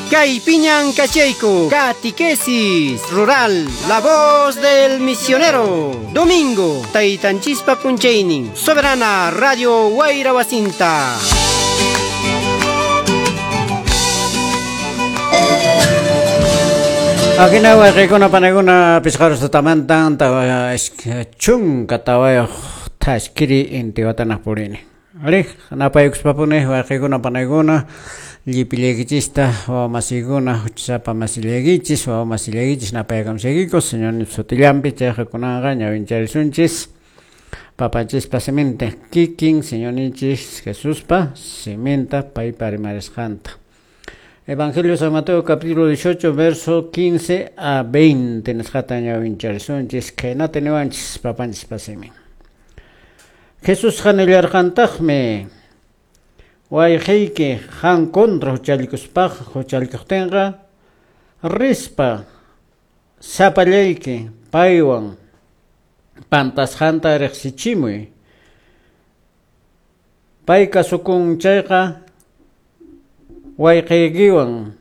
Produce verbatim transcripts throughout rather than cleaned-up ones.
Kay piñan kachayku, Catequesis Rural, La Voz del Misionero. Domingo, Taytanchispa punchaynin, Soberana Radio Wayra Wasinta. Akina wayqikuna panakuna pisqarus tutamantan tawa chunka tawayuq thaskiri intiwatanaq purini. Ari, napaykuspapuni wayqikuna panakuna llipillaykichista wawamasikuna huchasapa masillaykichis wawamasillaykichis napaykamsaykiku Señor sutillanpi chayqa kunanqa ñawincharisunchis papanchispa siminta kikin Señorninchis Jesuspa siminta paypa rimarisqanta. Evangelio San Mateo capítulo dieciocho verso quince a veinte nisqata ñawincharisunchis khaynata niwanchis papanchispa simin. Jesusqa nillarqantaqmi wayqiyki qan contra huchallikuspaqa huchallikuqtinqa rispa sapallayki paywan pantasqanta riqsichimuy pay kasukun chayqa wayqiykiwan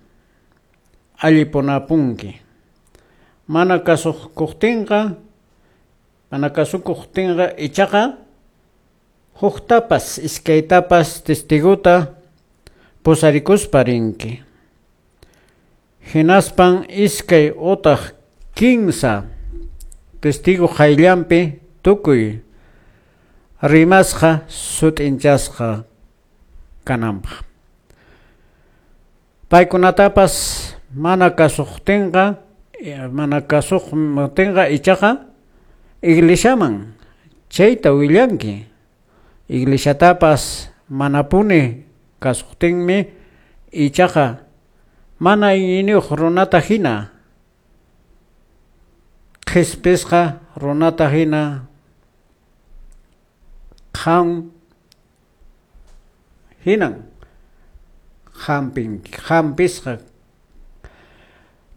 allipunapunki mana kasukuqtinqa mana kasukuqtinqa ichaqa huktapas iskaytapas testiguta pusarikuspa rinki hinaspan iskay utaq kinsa testigo qayllanpi tukuy rimasqa sut'inchasqa kananpaq paykunatapas mana kasuqtinqa mana kasuqtinqa ichaqa iglesiaman chayta willanki iglesiatapas manapuni kasuqtinmi ichaqa mana iñiniyuq runata hina qhispisqa runata hina qan hinan hampin hampisqa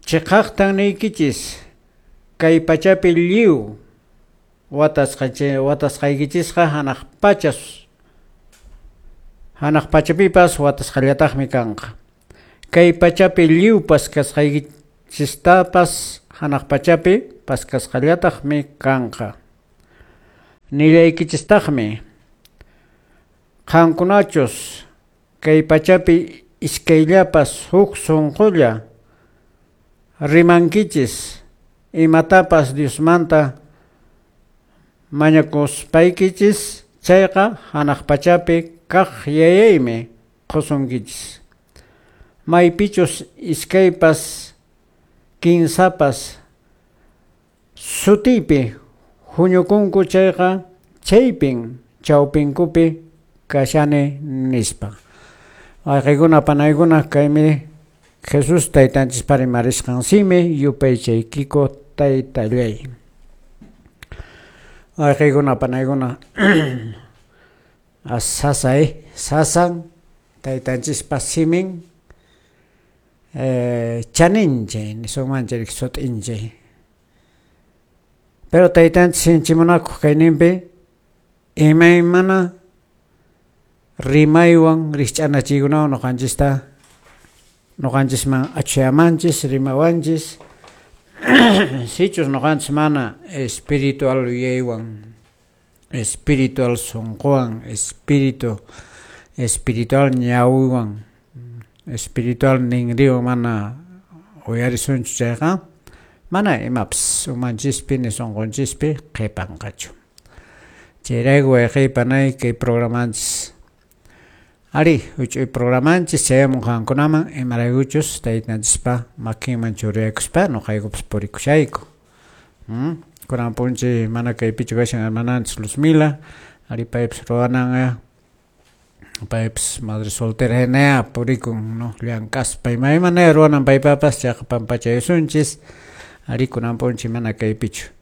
chiqaqtan niykichis kay pachapi lliw watasqa watasqaykichisqa hanaq pachas hanaq pachapipas watasqallataqmi kanqa kay pachapi lliwpas kasqaykichistapas hanaq pachapi paskasqallataqmi kanqa nillaykichistaqmi qankunachus kay pachapi iskayllapas huk sunqulla rimankichis imatapas Diosmanta mañakuspaykichis chayqa hanaq pachapi kaq yayaymi qusunkichis maypichus iskaypas kinsapas sutiypi huñukunku chayqa chaypin chawpinkupi kashani nispa. Wayqikuna panaykuna kaymi Jesús taytanchispa rimarisqan simi yupaychaykiku taytallay. Wayqikuna panaykuna sasay sasan taytanchispa simin eh, chaninchay nisunmanchik sut'inchay pero taytanchis sinchimunakuq kayninpi imaymana rimaywan rikch'anachiykunawan ñuqanchista ñuqanchisman achuyamanchis rimawanchis sichus ñuqanchis mana espiritual yuyaywan espiritual sunquwan espíritu espiritual ñawiwan espiritual ninriwan mana uyarisunchu chayqa mana imapas umanchispi ni sunqunchispi qhipanqachu chayrayku wayqiy panay kay programanchis ari huch'uy programanchis chayamun qankunaman imaraykuchus taytanchispa makinman churayakuspa ñuqaykupas purikushayku hmm? Kunan punchi mana kaypichu kashan hermananchis Luzmila ari paypas ruwanan paypas madre soltera hinaya purikun no llank'aspa imaymanaya ruwanan paypapas chayqa pampachayusunchis ari kunan punchi mana kaypichu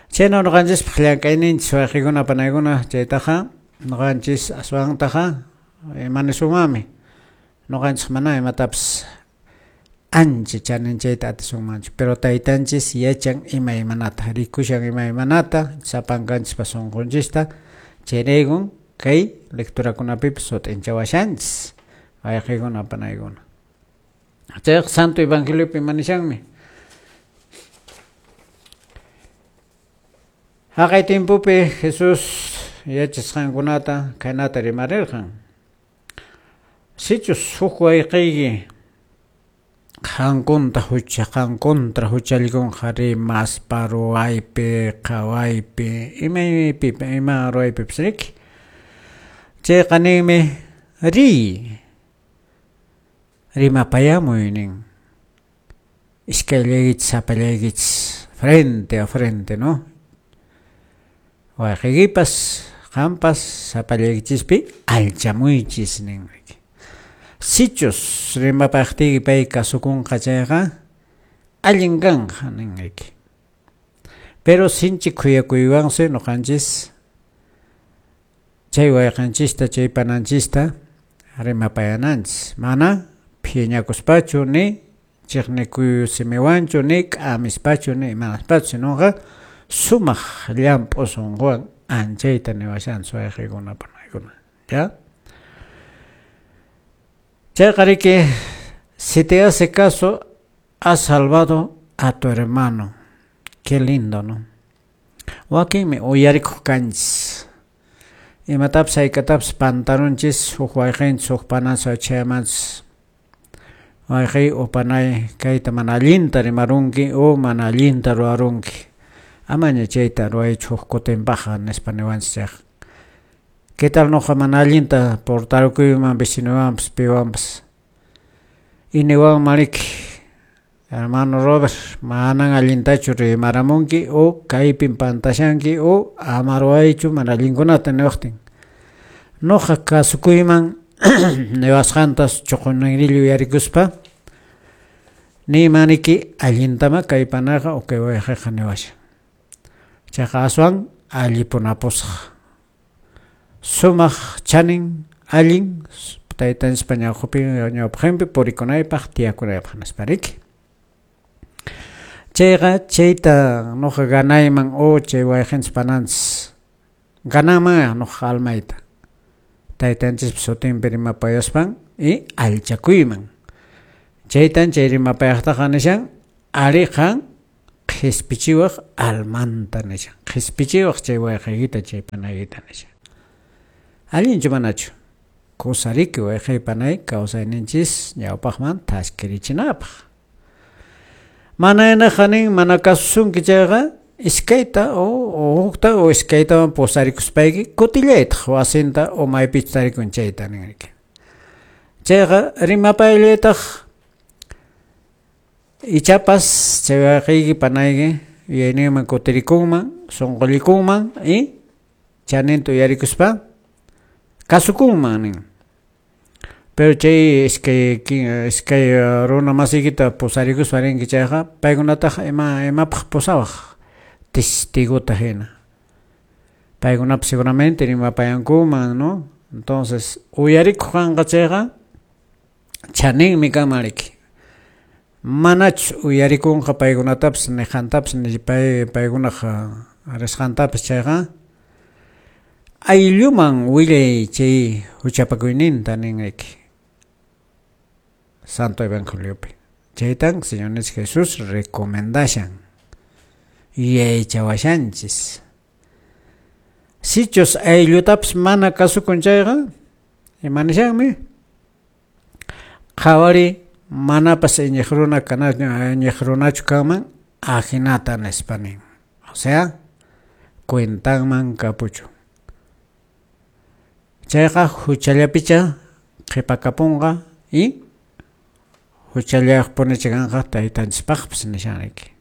chayna ñuqanchispaq llank'ayninchis wayqikuna panaykuna chaytaqa ñuqanchis aswantaqa manisunmanmi ñuqanchis mana imatapas ancha chaninchayta atisunmanchu pero taytanchis yachan imaymanata rikushan imaymanata sapankanchispa sunqunchista chayraykun kay lecturakunapipas sut'inchawashanchis wayqikuna panaykuna Chayqa Santo Evangeliopi manishanmi. Haqay timpupi Jesús yachasqankunata khaynata rimarirqan. Sichus huk wayqiyki qankunta hucha qan contra huchallikunqa rimaspa ruwaypi qhawaypi imaypi ima ruwaypipas riki chayqa ninmi riy rimapayamuy nin iskayllaykichis sapallaykichis frente a frente, ¿no? Wayqiykipas qampas sapallaykichispi alchamuychis nin. Sichus rimapaqtiyki pay kasukunqa chayqa allin kanqa nin riki. Pero sinchi khuyakuywansi ñuqanchis chay wayqanchista chay pananchista rimapayananchis mana phiñakuspachu ni chiqnikuy simiwanchu ni k'amispachu ni imanaspachu sinoqa sumaq llamp'u sunquwan anchayta niwashanchis wayqiykuna panaykuna, ¿ya? Chayqa riki, si te hace caso, has salvado a tu hermano. Qué lindo, ¿no? Wakinmi uyarikuq kanchis. Imatapas hayk'atapas pantarunchis huk wayqinchis huk pananchis chayamanchis. Wayqiy o panay kayta mana allinta rimarunki o mana allinta ruwarunki. Amaña chayta ruwaychu huk kutinpaqqa nispa niwanchis chayqa. ¿Qué tal noqa mana allinta portarukuyman vecinowanpas piwanpas? Y niwanman riki, hermano Robert, manan allintachu rimaramunki o kaypin pantashanki o ama ruwaychu mana allinkunata niwaqtin. Noqa kasukuyman niwasqantas chuqunninrillu uyarikuspa niyman riki allintama kay panaqa o kay wayqiqa niwashan. Chayqa aswan allipunapusaq. Sumaq chanin allin taytanchispa ñawpaqinpi purikunaypaq tiyakunaypaq nispa riki. Chayqa chayta noqa ganayman o chay wayqinchis pananchis gananman noqa almayta taytanchispa sutinpi rimapayaspan y allchakuyman. Chaytan chay rimapayaqtaqa nishan ariqan qhispichiwaq almanta nishan qhispichiwaq chay wayqiykita chay panaykita nishan. Allinchu manachu kusariki wayqiy panay kawsayninchis ñawpaqman thaskirichinapaq. Mana hinaqa nin mana kasusunki chayqa iskayta o hukta o iskaytawan pusarikuspayki kutillaytaq wasinta o maypichu tarikun chayta nin riki. Chayqa rimapayallaytaq ichapas chay wayqiyki panayki yuyayninman kutirikunman sunqullikunman y chaninta uyarikuspa kasukunman nin. Pero chay iskay iskay runa masiykita pusarikuspa rinki chayqa paykunataqa ima imapaq pusawaq testigota hina. Paykunapas seguramente rimapayankuman, ¿no? Entonces uyarikuq kanqa chayqa chaninmi kanman riki. Manachus uyarikunqa paykunatapas niqantapas ni pay paykunaq risqantapas chayqa aylluman willay chay huchapakuyninta nin riki. Santo Evangeliopi. Chaytan Señor Jesús recomendashan yuyaychawashanchis. Sichus ayllutapas mana kasukun chayqa ima nishanmi qhawari manapas iñiq runa kana iñiq runachu kanman ajinata nispa nin. O sea, cuentanman kapuchu. Chayqa huchallapicha qhipakapunqa y huchallayuqpunicha kanqa taytanchispaqpas nishan riki.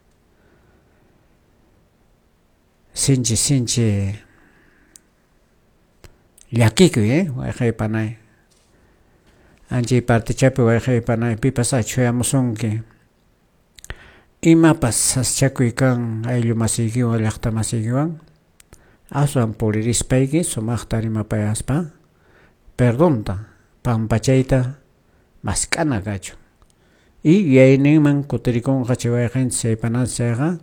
Sinchi sinchi llakikuy, eh, wayqiy panay. Anchay partichapi wayqiy panay pipas achhuyamusunki. Imapas saschakuy kan ayllu masiykiwan llaqta masiykiwan aswan puririspayki sumaqta rimapayaspa perdonta pampachayta mask'ana kachun. Y yuyayninman kutirikunqa chay wayqinchis chay pananchis chayqa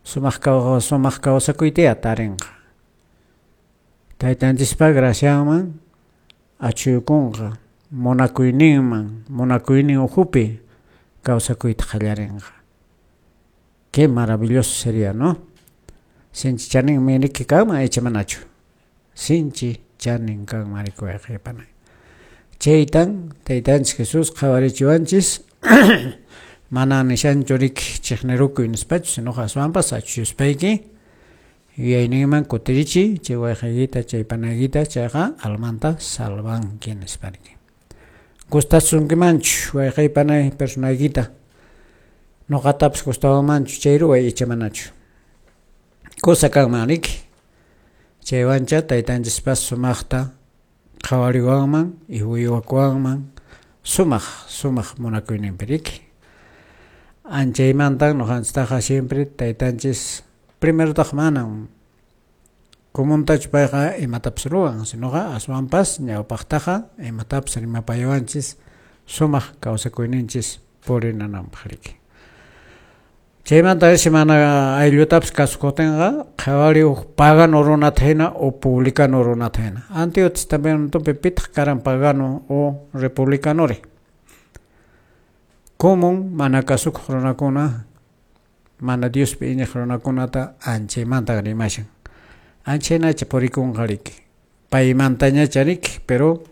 sumaq sumaq kawsakuyta tarinqa. Taytanchispa gracianman achhuykunqa munakuyninman munakuynin ukhupi kawsakuyta qallarinqa. Qué maravilloso sería, ¿no? Sinchi chaninmi riki kanman icha manachu. Sinchi chanin kanman riki wayqey panay. Chaytan taytanchis Jesús qhawarichiwanchis mana nishanchu riki chiqnirukuy nispachu, sinoqa aswanpas achuyuspayki yuyayninman kutirichiy chay wayqeykita chay panaykita chayqa almanta salvanki nispa riki. Gustasunkimanchu wayqey panay personaykita nuqatapas gustawanmanchu chay ruway icha manachu. Kusa kanman riki chaywancha taytanchispas sumaqta qhawariwanman y uywakuwanman sumaq sumaq munakuyninpi riki. Anchaymantan nuqanchistaqa siempre taytanchis primerotaq manan comuntachu payqa imatapas ruwan, sinoqa aswanpas ñawpaqtaqa imatapas rimapayawanchis sumaq kawsakuyninchis purinananpaq riki. Chaymanta mana ayllutapas kasukutinqa qhawari huk pagano runata hina o publicano runata hina. Antiguo Testamentopi pitaq karan pagano o republicanori. Común mana kasukuq runakuna mana Diospi iñiq runakunata anchaymanta rimashan. Anchaynacha purikunqa riki. Paymantañacha riki, pero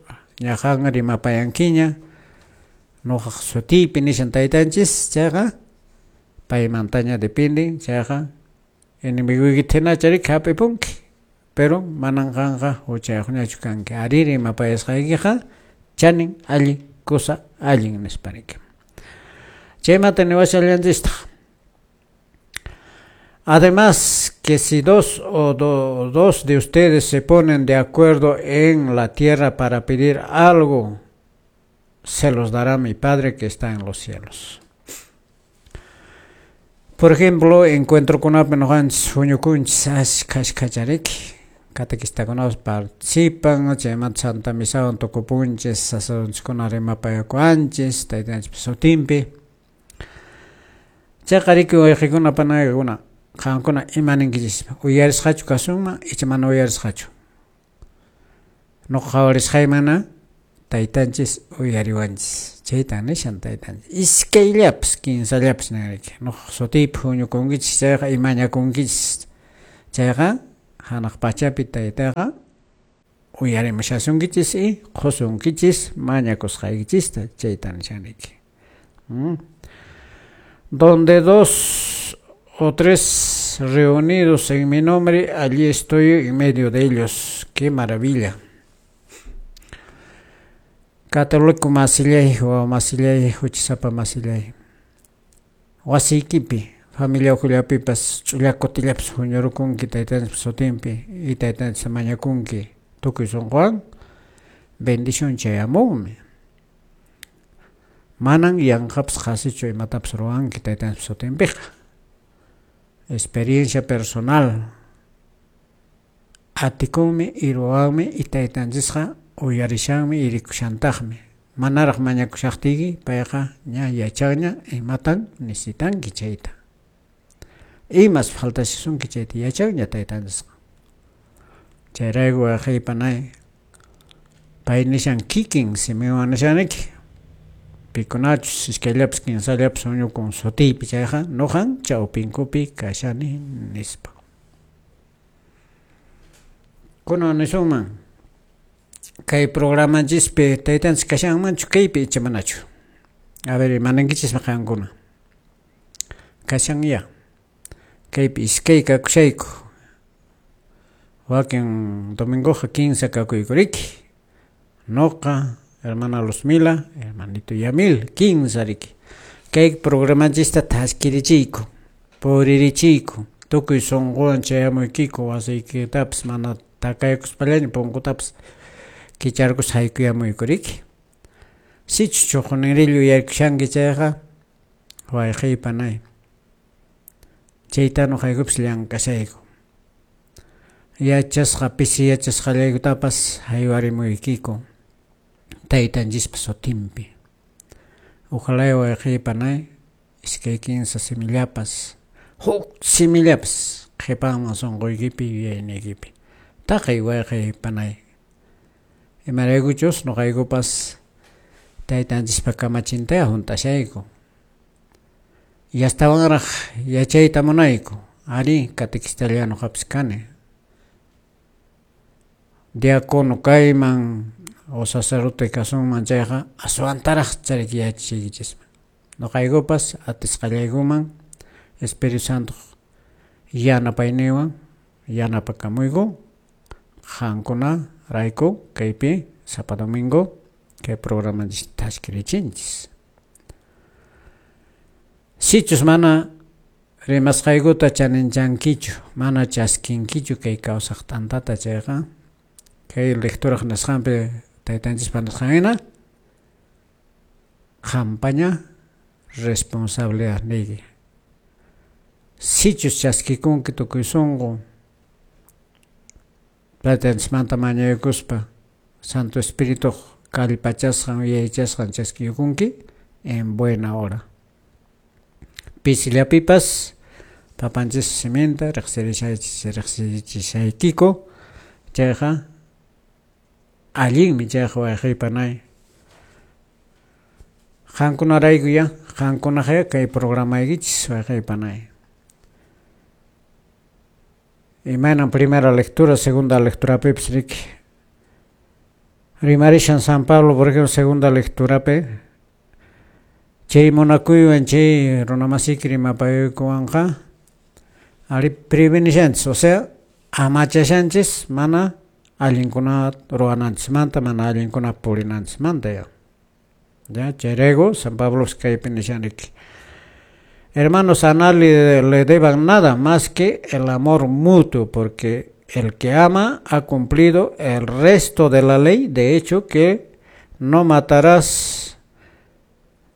ñaqan rimapayankiña nuqaq sutiypi nishan taytanchis chayqa paymantaña depende chayqa enemigoykita hinacha riki hap'ipunki, pero manan qanqa huchayuqñachu kanki. Ari rimapayasqaykiqa chanin allin kusa allin nispa riki. Chaymanta niwashallanchistaq. Además, que si dos o do, dos de ustedes se ponen de acuerdo en la tierra para pedir algo, se los dará mi Padre que está en los cielos. Por ejemplo, encuentrokunapi nuqanchis huñukunchis ashkha ashkhacha riki. Catequistakunapas participan, chaymanta Santa Misawan tukupunchis, sacerdotekunata rimapayakuanchis, taytanchispa sutinpi. Chayqa riki wayqikuna panaykuna qankuna ima ninkichis uyarisqachu kasunman icha mana uyarisqachu. Nuqa qhawarisqaymana taytanchis uyariwanchis. Chaytan nishan taytanchis. Iskayllapas kinsallapas nin riki. Nuqa sutiypi huñukunkichis chayqa imañakunkichis chayqa hanaq pachapi taytaqa uyarimushasunkichis y qusunkichis mañakusqaykichista chayta nishan riki. ¿Mm? Donde dos o tres reunidos en mi nombre, allí estoy en medio de ellos. ¡Qué maravilla! Católico masillay, wawa masillay, huchasapa masillay. Wasiykipi, familia ukhullapipas ch'ulla kutillapas huñurukunki taytanchispa sutinpi y taytanchis mañakunki tukuy sunquwan bendición chayamunmi. Manan yanqapas qhasichu imatapas ruwanki taytanchispa sutinpiqa. Experiencia personal. Atikunmi y ruwanmi y taytanchisqa uyarishanmi y rikushantaqmi. Manaraq mañakushaqtiyki payqa ña yachanña imatan necesitanki chayta. Imas faltashasunki chayta yachanña taytanchisqa. Chayrayku wayqey panay pay nishan kikin simiwan nishaniki. Pikunachus iskayllapas kinsallapas huñukun sutiypi chayqa nuqan chawpinkupi kashani nispa. Kunan nisunman kay programanchispi taytanchis kashanmanchu kaypi icha manachu. A ver, imaninkichismi qankuna. Kashan ya. Kaypi iskay kakushayku. Wakin domingoqa kinsa kakuyku riki. Nuqa, hermana Luzmila, hermanito Yamil, kinsa riki. Kay programanchista thaskirichiyku, puririchiyku, tukuy sunquwan chayamuykiku wasiykitapas mana takaykuspallaña punkutapas kicharkus haykuyamuyku riki. Sichus chuqunirillu yaykushanki chayqa wayqey panay. Chayta nuqaykupas llank'ashayku. Yachasqa pisi yachasqallaykutapas haywarimuykiku taytanchispa sutinpi. Ojalá wayqey panay iskay kinsa simillapas huk simillapas qhipanman sunquykipi yuyayniykipi. Taqay wayqey panay. Imaraykuchus nuqaykupas taytanchispa kamachintaya hunt'ashayku. Yastawanraq yachayta munayku. Ari catequistalla nuqapis kani. Diácono kayman o sacerdote kasunman chayqa aswantaraq chariki yachachiykichisman. Nuqaykupas atisqallaykuman Espíritu Santo yanapayninwan yanapakamuyku qankuna rayku kaypi sapa domingo kay programanchis tashkirichinchis. Sichus mana rimasqaykuta chaninchankichu, mana chaskinkichu kay kawsaq t'antata chayqa, kay lecturaq nisqanpi taytanchispa nisqan hina qampaña responsabilidad niyki. Sichus chaskikunki tukuy sunqu taytanchismanta mañaykuspa Santo Espíritu kallpachasqan yuyaychasqan chaskiykunki en buena hora. Pisillapipas papanchis siminta riqsirishaykiku chayqa allinmi chayqa wayqiypanay. Qankunaraykuya qankunaqya kay programaykichis wayqiypanay. Imaynan primera lectura, segunda lecturapipis riki. Rimarishan San Pablo, por ejemplo, segunda lecturapi chay munakuywan chay runamasiki rimapaykuwanqa ari prevenishanchis, o sea, amachashanchis mana allinkuna ruwananchismanta, mana allinkuna purinanchismanta ya. Ya, chayrayku San Pablo kaypi nishan riki. Hermanos, a nadie le deban nada más que el amor mutuo, porque el que ama ha cumplido el resto de la ley. De hecho, que no matarás,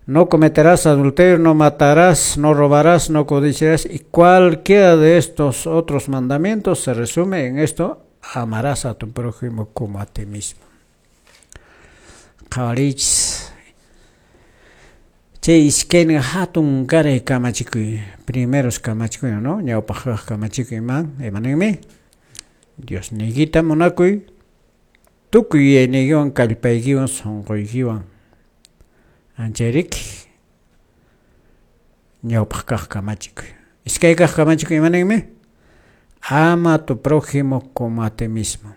no cometerás adulterio, no matarás, no robarás, no codiciarás, y cualquiera de estos otros mandamientos se resume en esto: amarás a tu prójimo como a ti mismo. Qhawarichis. Chay iskaynin hatun karay kamachikuy, primeros kamachikuy, ¿no? Ñawpaq kamachikuy man, imaninmi? Dios niykita munakuy, tukuy yuyayniykiwan, kallpaykiwan, sunquykiwan. Anchayriki ñawpaq kaq kamachikuy. Iskay kaq kamachikuy imaninmi? Ama a tu prójimo como a ti mismo.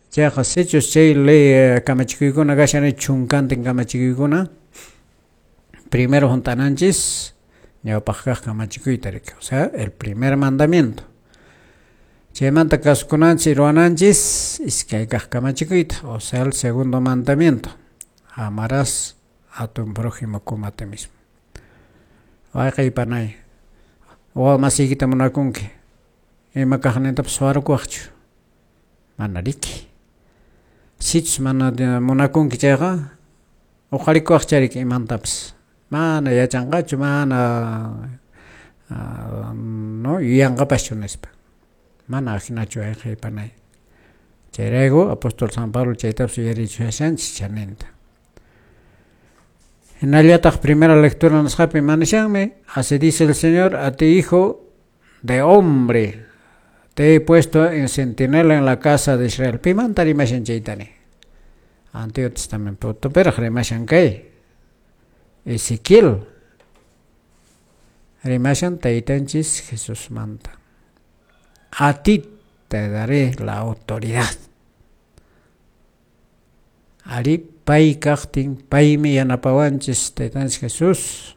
Chayqa sichus chay ley kamachikuykuna kashan chunkantin kamachikuykuna, primero juntananchis ñawpaq kaq kamachikuyta riki, o sea, el primer mandamiento. Chaymanta kasukunanchis ruwananchis iskay kaq kamachikuyta, o sea, el segundo mandamiento. Amarás a tu prójimo como a ti mismo. Wayqiypanay, wawa masiykita munakunki, ima kaqnintapas suwarukuwaqchu? Mana riki. Sichus mana munakunki chayqa uqharikuwaqcha riki imantapas. Mana yachanqachu, mana no yuyanqapaschu nispa. Mana ajinachu wayqiypanay. Chayrayku apóstol San Pablo chaytapas yuyarichushanchis chaninta. Hinallataq primera lectura nisqapi manishanmi, así dice el Señor, a ti hijo de hombre, te he puesto en centinela en la casa de Israel. Pimanta rimashan chaytani. Antiguo Testamento pero rimashan kay. Ezequiel rimashan taytanchis Jesús manta. A ti te daré la autoridad. Ari pay kaqtin paymi yanapawanchis taytanchis Jesús.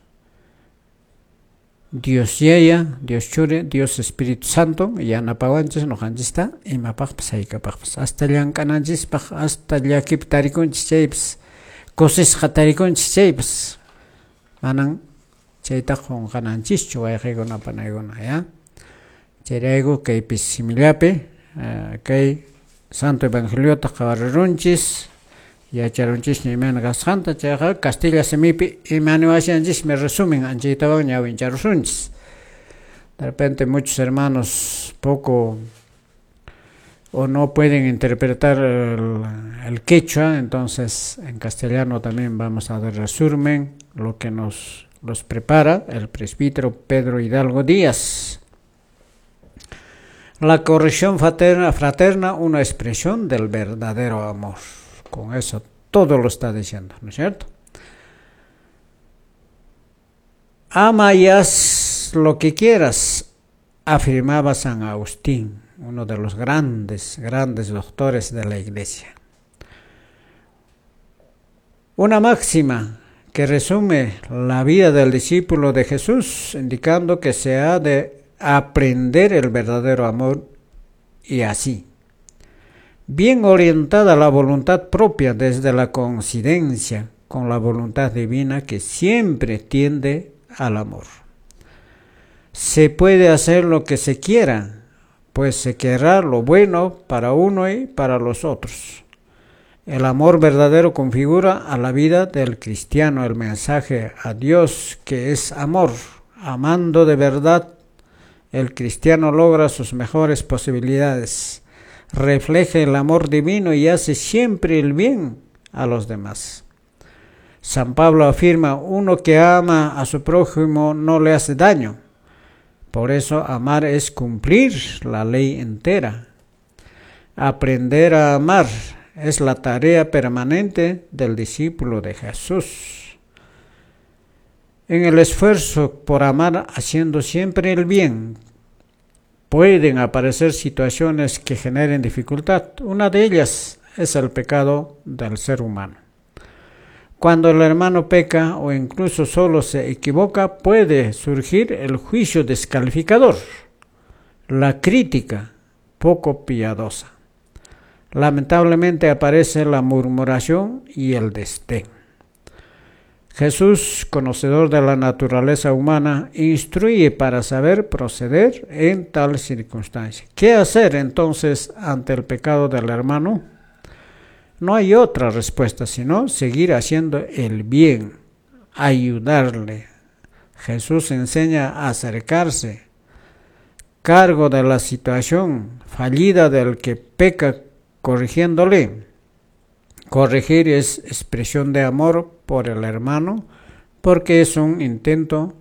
Dios Yaya, Dios Churi, Dios Espíritu Santo yanapawanchis nuqanchista imapaqpas haykapaqpas. Hasta llank'ananchispaq, hasta llakipi tarikunchis chaypas, kusisqa tarikunchis chaypas. Manan chayta qunqananchischu wayqiykuna panaykuna, ya. Chayrayku kaypi simillapi kay Santo Evangeliota qhawarirunchis, yacharunchisña imayna kasqanta, chayqa Castilla simipi imaniwashanchismi resumen anchaytawan ñawincharusunchis. De repente muchos hermanos poco o no pueden interpretar el, el quechua, entonces en castellano también vamos a dar resumen lo que nos los prepara el presbítero Pedro Hidalgo Díaz. La corrección fraterna, fraterna, una expresión del verdadero amor. Con eso todo lo está diciendo, ¿no es cierto? Ama y haz Haz lo que quieras, afirmaba San Agustín, uno de los grandes, grandes doctores de la Iglesia. Una máxima que resume la vida del discípulo de Jesús, indicando que se ha de aprender el verdadero amor y así, bien orientada la voluntad propia desde la coincidencia con la voluntad divina que siempre tiende al amor. Se puede hacer lo que se quiera, pues se querrá lo bueno para uno y para los otros. El amor verdadero configura a la vida del cristiano el mensaje a Dios que es amor. Amando de verdad, el cristiano logra sus mejores posibilidades, refleja el amor divino y hace siempre el bien a los demás. San Pablo afirma, uno que ama a su prójimo no le hace daño. Por eso amar es cumplir la ley entera. Aprender a amar es la tarea permanente del discípulo de Jesús. En el esfuerzo por amar haciendo siempre el bien, pueden aparecer situaciones que generen dificultad. Una de ellas es el pecado del ser humano. Cuando el hermano peca o incluso solo se equivoca, puede surgir el juicio descalificador, la crítica poco piadosa. Lamentablemente aparece la murmuración y el desdén. Jesús, conocedor de la naturaleza humana, instruye para saber proceder en tal circunstancia. ¿Qué hacer entonces ante el pecado del hermano? No hay otra respuesta sino seguir haciendo el bien, ayudarle. Jesús enseña a acercarse, cargo de la situación fallida del que peca, corrigiéndole. Corregir es expresión de amor por el hermano, porque es un intento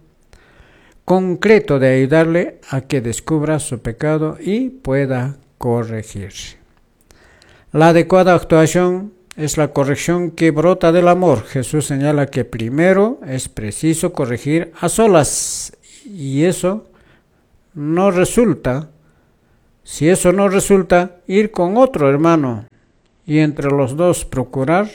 concreto de ayudarle a que descubra su pecado y pueda corregirse. La adecuada actuación es la corrección que brota del amor. Jesús señala que primero es preciso corregir a solas, y eso no resulta. Si eso no resulta, ir con otro hermano y entre los dos procurar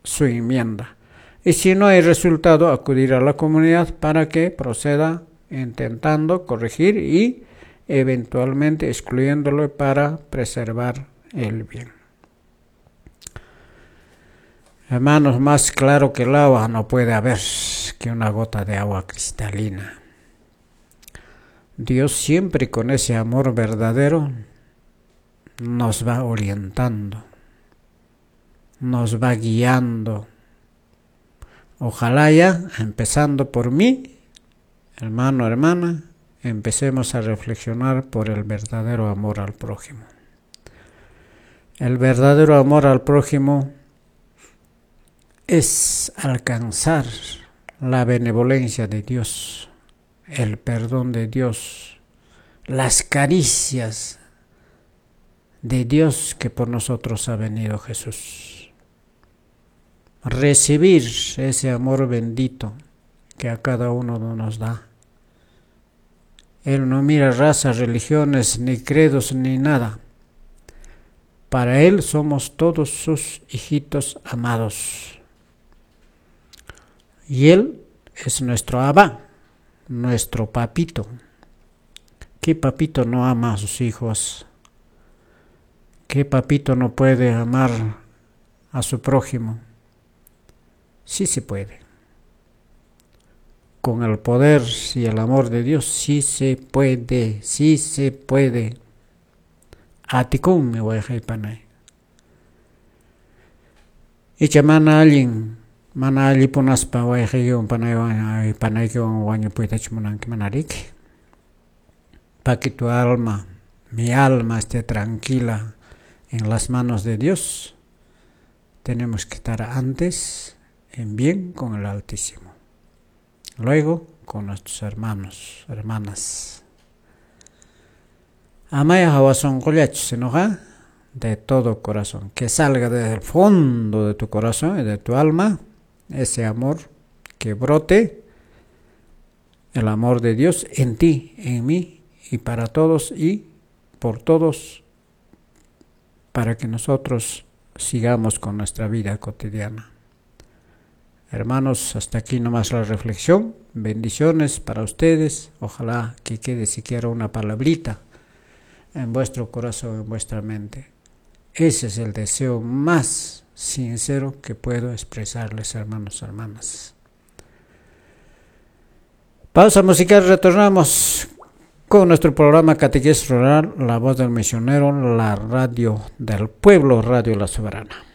su enmienda. Y si no hay resultado, acudir a la comunidad para que proceda intentando corregir y eventualmente excluyéndolo para preservar el bien. Hermanos, más claro que el agua no puede haber que una gota de agua cristalina. Dios siempre con ese amor verdadero nos va orientando, nos va guiando. Ojalá ya, empezando por mí, hermano, hermana, empecemos a reflexionar por el verdadero amor al prójimo. El verdadero amor al prójimo es alcanzar la benevolencia de Dios, el perdón de Dios, las caricias de Dios que por nosotros ha venido Jesús. Recibir ese amor bendito que a cada uno nos da. Él no mira razas, religiones, ni credos, ni nada. Para Él somos todos sus hijitos amados. Y Él es nuestro Abba, nuestro papito. ¿Qué papito no ama a sus hijos? ¿Qué papito no puede amar a su prójimo? Sí se puede. Con el poder y el amor de Dios, sí se puede, sí se puede. Atikun mi wayqaypanay. Icha mana allin, mana allipunaspa wayqaykiwan panaywan panaykiwan wañupuytachu munanki mana riki. Pa que tu alma, mi alma esté tranquila en las manos de Dios, tenemos que estar antes en bien con el Altísimo. Luego con nuestros hermanos, hermanas. Amaya hawa sonqollachu, sino de todo corazón, que salga desde el fondo de tu corazón y de tu alma ese amor que brote El amor de Dios en ti, en mí y para todos y por todos, para que nosotros sigamos con nuestra vida cotidiana. Hermanos, hasta aquí nomás la reflexión. Bendiciones para ustedes. Ojalá que quede siquiera una palabrita en vuestro corazón, en vuestra mente. Ese es el deseo más sincero que puedo expresarles, hermanos, hermanas. Pausa musical, retornamos con nuestro programa Catequesis Rural, La Voz del Misionero, la radio del pueblo, Radio La Soberana.